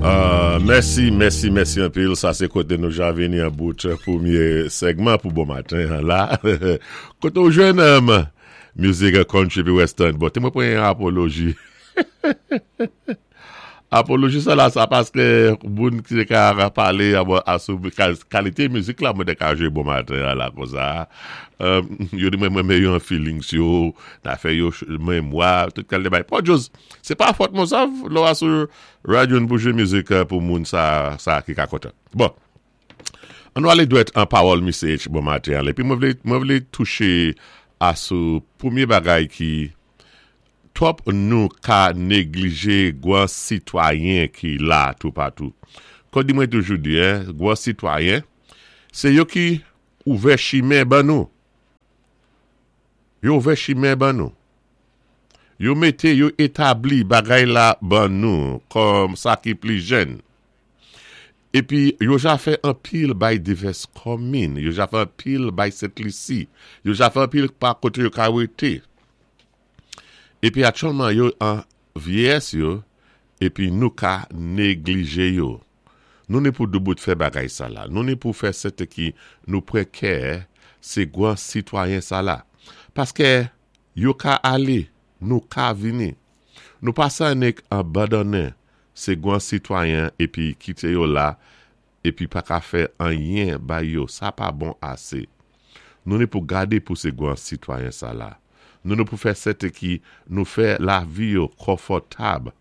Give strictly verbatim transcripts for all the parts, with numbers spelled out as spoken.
Uh, mèsi, mèsi, mèsi anpil. Sa, sé koté nou ja vini an bout pwémyé segman pou bon maten la. Koté ou jwenn um, mizik country pi western. Bon, té mwen pran yon apoloji. Apoloji sa la, sa paské moun ki ka palé a sou kalité mizik la, mwen té ka jwé bon maten la konsa. Um, yo di mwen mwen mé yo an feelings yo, ta fè yo mémwa, tout kalité bagay. Pa jòz, sé pa fòt mwen sav, lò a sou radyo pou jwé mizik pou moun sa, sa ki ka kontan. Bon, an nou alé dwèt an pawòl Misye H bon maten an. Épi mwen vlé, mwen vlé touché a sou pwémyé bagay ki twòp nou ka néglijé gwan sitwayen ki la toupatou. Kon di mwen toujou di, hein, gwan sitwayen, sé yo ki ouvè chimen ban nou. Yo ouvè chimen ban nou. Yo mété, yo établi bagay la ban nou kòm sa ki pli jèn. Épi yo ja fè anpil bay divès komin, yo ja fè anpil bay Sent Lisi, yo ja fè anpil pa koté yo ka wété. Épi aktyèlman yo an vyéyès yo, épi nou ka néglijé yo. Nou ni pou doubout fè bagay sa la. Nou ni pou fè sèten ki nou pran kè sé gwan sitwayen sa la. Paské yo ka alé, nou ka vini. Nou pa sa nik abandonnen sé gwan sitwayen épi kité yo la, épi pa ka fè anyen bay yo. Sa pa bon asé. Nou ni pou gadé pou sé gwan sitwayen sa la. Nou ni pou fè sèten ki nou fè lavi yo konfòtab.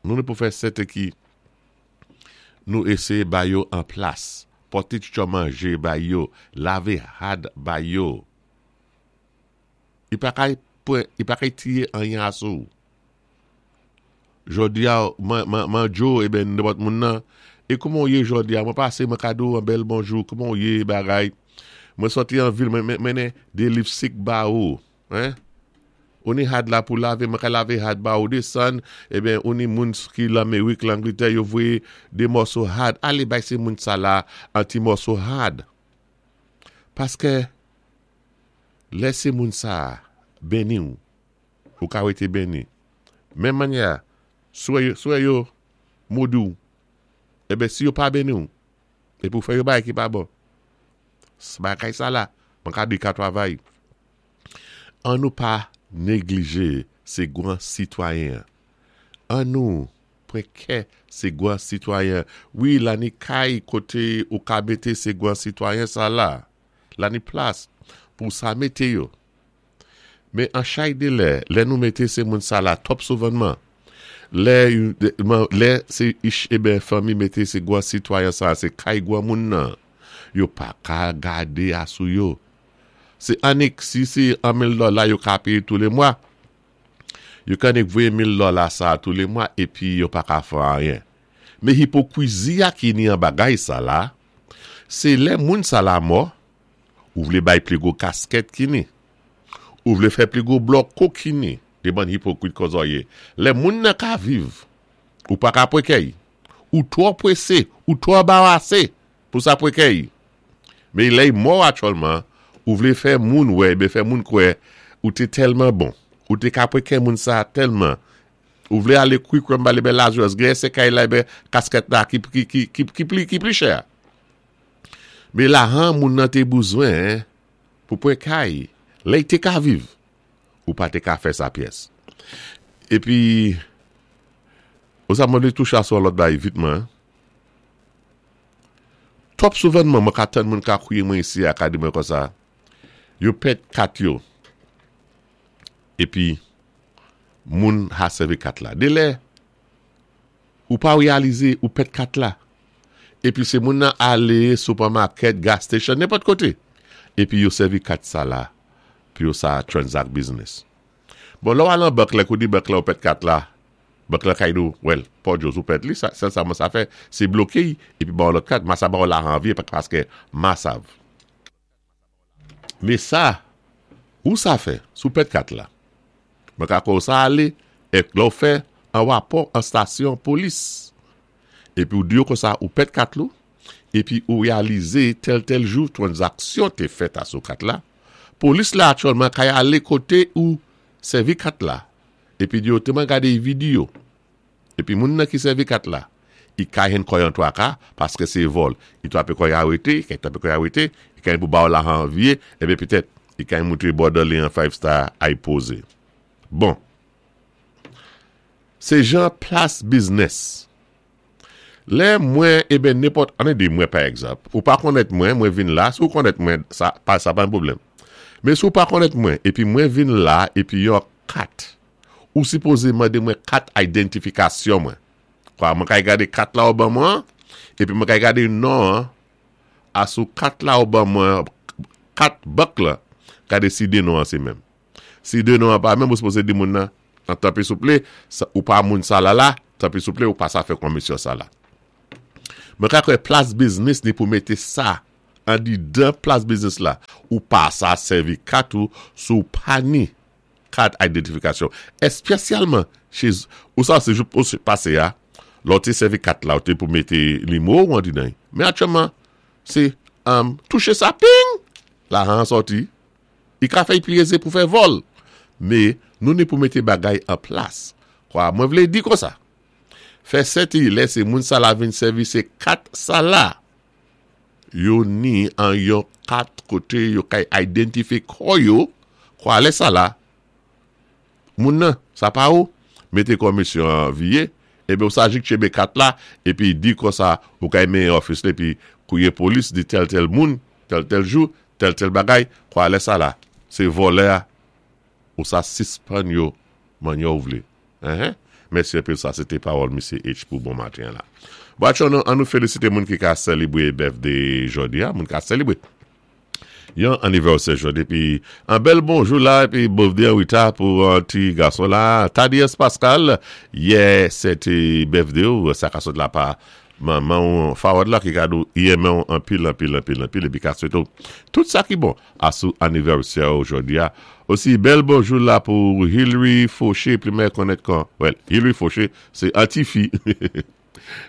Nou ni pou fè sèten ki nou éséyé bay yo an plas. Poté ti manjé bay yo, lavé had bay yo. I pa kay i pa kay tiyé anyen asou. Jòdi a, man, man, man Joe, eh ben, nenpòt moun nan, é kouman ou yé jòdi a, mwen pasé mwen ka di ou an bèl bonjou, kouman ou yé bagay. Mwen sòti an vil, mwen mennen dé liv sik ba ou, hein? Ou ni had la pou lavé, mwen ka lavé had ba ou désann, eh ben, ou ni moun ki Lamérik, Langlétè, yo voyé dé mòso had, alé bay sé moun sa la, an ti mòso had. Paské, lè sé moun sa béni ou, ou ka wété béni. Menm mannyè, swa swa yo modi ou, eh ben, si yo pa béni ou, é pou fè yo bagay ki pa bon. Bagay sa la, mwen ka di ka travay. An nou pa néglijé sé gwan sitwayen. An nou pran kè sé gwan sitwayen. Wi, la ni kay koté ou ka mété sé gwan sitwayen sa la. La ni plas pou sa mété yo. Men an chay de lè, lè nou mété sé moun sa la twòp souvanman. Lè, lè sé ich eh ben fanmi mété sé gwan sitwayen sa, sé kay gwan moun nan. Yo pa ka gadé asou yo. Sé annik, si sé an mil dola yo ka péyé tou lé mwa. Yo ka annik voyé mil dola sa tou lé mwa épi yo pa ka fè anyen. Men hipokwizi a ki ni an bagay sa la, sé lè moun sa la mò, ou vlé bay pli gwo kaskèt ki ni. Ou vlé fè pli gwo blòk ki ni. Dé bann hipokrit konsa ou yé. Lè moun nan ka viv, ou pa ka pran kè y. Ou twò pwésé, ou twò anbarasé pou sa pran kè y. Men lè y mò aktyèlman, ou vlé fè moun wè, ben fè moun kwè, ou té tèlman bon, ou té ka pran kè moun sa tèlman, ou vlé alé quick bale ben Lazarus, gen sé kay la ben kaskèt la ki ki ki ki ki pli ki pli chè. Men lajan moun nan té bezwen pou pran kay, lè y té ka viv, ou pa té ka fè sa pyès. Épi, ou sa mwen vlé touché sou lòt bagay vitman. Twòp souvanman, mwen ka tann moun ka kwiyé mwen isi a ka di mwen konsa. Yo pèd kat yo. Épi, moun ha sèvi kat la. Dé lè, ou pa réalizé ou pèd kat la. Épi sé moun nan alé supermarket, gas station, nenpòt koté. Épi yo sèvi kat sa la, pi yo sa transact business. Bon, lò al an bank la, kou di bank la ou pèd kat la, bank la kay nou, well, pa jòz ou pèd li, sa, sa, sa, sa fè, sé bloké, épi ba lòt kat, ma sa ba ou la ranviyé, paské ma sav. Men sa, ou sa fè, sou pèd kat la. Mwen ka kon sa alé, ek lò fè, an wapò, an stasyon polis. Épi ou di yo konsa, ou pèd kat lou, épi ou réalizé tèl tèl jou, transaksyon té fèt a sou kat la, polis la aktyèlman kay alé koté ou sèvi kat la, épi di yo, té mwen gadé videyo, Épi moun nan ki sèvi kat la, i ka jwenn kò'y an twaka paské sé vòl. I twapé kò'y arété, i ka twapé kò'y arété, i ka pou ba ou lajan vyé, ébi pétèt i ka moutré bòdè li an five star ay pozé. Bon. Sé jan plas biznis. Lè mwen, eben nenpòt, annou di mwen pa egzanp, ou pa konnèt mwen, mwen vin la, si ou konnèt mwen, sa pa, sa pa yon pwoblèm. Men si ou pa konnèt mwen, épi mwen vin la, épi yon kat, ou sipozé mandé mwen kat idantifikasyon mwen. Kwa, mwen kay gadé kat la ou ban mwen, épi mwen kay gadé non, asou kat la ou ban mwen, kat bank la, gade si dé non an sé menm. Si dé non an pa menm, ou sipozé di moun nan, an tanpri souplé, sa, ou pa moun sa la la, tanpri souplé, ou pa sa fè komisyon sa la. Mwen ka kwè plas biznis ni pou mété sa andidan plas biznis la, ou pa sa sèvi kat ou sou pa ni kat idantifikasyon. Espésyalman, chez, ou sa sé jou pou pasé ya, lò té sèvi kat la, ou té pou mété nimewo ou andidan. Men aktyèlman, sé um, touché sa, ping, lajan sòti, i ka fè pi ézé pou fè vòl. Men, nou ni pou mété bagay an plas. Kwa, mwen vlé di konsa. Fè sèti, lè sé moun sa la vin sèvi sé kat sa la. Yo ni an yon kat koté yo kay idantifyé kò yo, kwa lè sa la, moun nan, sa pa ou, mété komisyon an vyé, ébi ou sa jis tchenbé kat la, épi di konsa, ou kay men office la, épi kouwé polis di tèl tèl moun, tèl tèl jou, tèl tèl bagay, kwa lè sa la, sé vòlè a, ou sa sispann yo, man yo vlé. Hein? Mèsi anpil sa, sé té pawòl Mesye H pou bon maten la. Bon, an nou félisité moun ki ka sélébwé birthday jòdi a, moun ka sélébwé. Yon anivèsè jòdi, épi an bèl bonjou la, épi birthday an wita pou an ti gason la, Thaddeus Pascal, yè sé té birthday ou, sa ka sot la pa manman ou Fawad la ki ka di ou renmen ou anpil, anpil, anpil, anpil, épi ka swété ou tout sa ki bon asou anivèsè ou jòdi a. Osi, bèl bonjou la pou Hillary Fauché, pli konnèt kon, well, Hillary Fauché, sé an ti fi.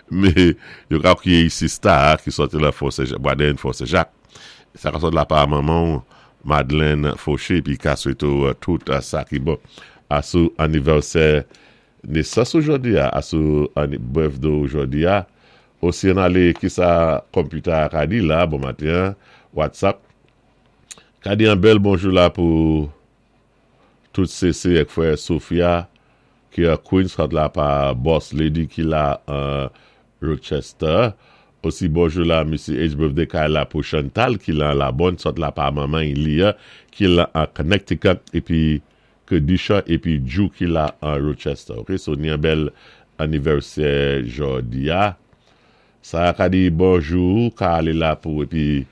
Men, yo ka kwiyé sista ki sòti la Fort Saint-Jacques, Boisd'Aine Fort Saint-Jacques. Sa ka sòt la pa manman Madeleine Fauché, pi ka swété ou tout sa ki bon asou anivèsè nesans jòdi a, asou birthday jòdi a. Osi an alé ki sa computer ka di la, bon maten, WhatsApp. Ka di an bèl bonjou la pou tout CC ek frè Sophia ki a Queens, kat la pa Boss Lady ki la uh, Rochester. Osi bonjou la Missy H birthday kay la pou Chantal ki la la bonne sot la pa manman Lia ki la an Connecticut épi Kedisha épi Ju ki la an Rochester. Ok, so ni an bèl anivèsè jòdi a. Sa ka di bonjou ka alé la pou épi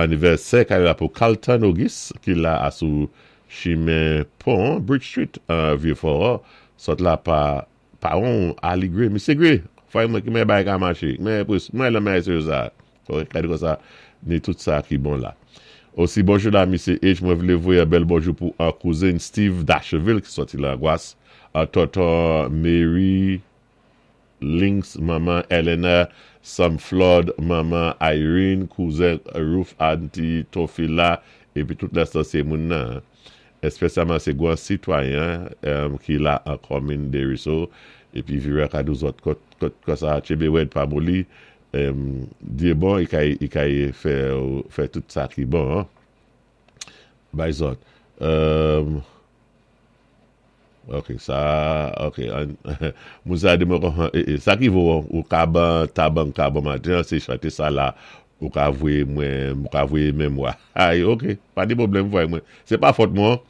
anivèsè ka alé la pou Carlton Auguste ki la asou chimen Pont Bridge Street an Vieux-Fort. Sot la pa paran Ali Gray, Mesye Gray. Fwa mwen ki mwen bay ka maché. Mwen mwen la mwen se sa. Ok, ka di konsa ni tout sa ki bon la. Osi bonjou la Mesye H, mwen vlé voyé bèl bonjou pou an kouzen Steve Dacheville ki sòti la Gwas, an tonton Mary Links, manman Eleanor, Sam Flood, manman Irene, kouzen Ruth Auntie Tofila, épi tout lè sa sé moun nan. Espésyalman sé gwan sitwayen um, ki la an komin Desruisseaux, épi vire ka dou zòt kot kot konsa tchenbé wèd pa moli, um, Dyé bon, i kay, i kay fè, fè tout sa ki bon, hein? Bay zòt. Um, ok, sa, ok, an, moun sa di mwen kon, eh, eh, sa ki vo, ou ka ban tabanka bon maten, sé chanté sa la, ou ka voyé mwen, ou ka voyé men mwa. Ay, ok, pa di pwoblèm voyé mwen. Sé pa fòt mwen.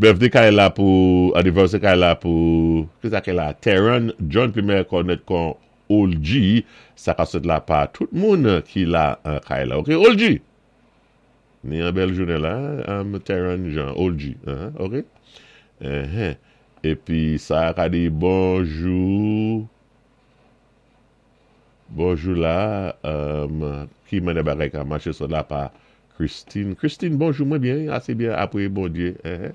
Birthday kay la pou, anivèsè kay la pou, ki sa ki la? Teron John pi mè konnèt kon Olji, sa ka sot la pa tout moun ki la an kay la. Ok, Olji. Ni an bèl jounen la, um, Teron Jean, Olji. Uh -huh, ok. Uh -huh. Épi sa ka di bonjou. Bonjou la, um, ki mènè bagay ka maché sot la pa Christine. Christine, bonjou, mwen byen, asé byen apwé Bondyé. Uh -huh.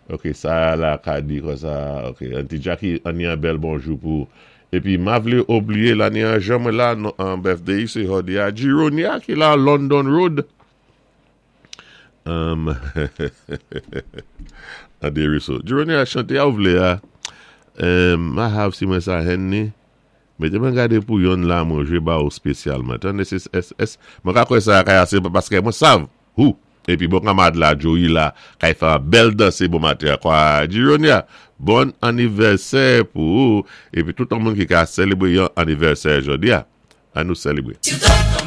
Ok, sa la ka di konsa, ok, Auntie Jackie, an ni an bèl bonjou pou, épi ma vlé oubliyé la ni an jan mwen la, an birthday, sé jòdi a Gironia ki la London Road. Um, an Desruisseaux. Gironia chanté a ou vlé a, um, ma have si mwen sa hen ni, Mété mwen gadé pou yonn la mwen jwé ba ou spésyalman. Tann es es es mwen ka kwè sa kay asé paské mwen sav. Hou. Épi bon kanmad la Joey la kay fè an bèl dansé bon maten kwa Jironia. Bon anivèsè pou ou épi tout moun ki ka sélébré yon anivèsè jòdi a. An nou sélébré.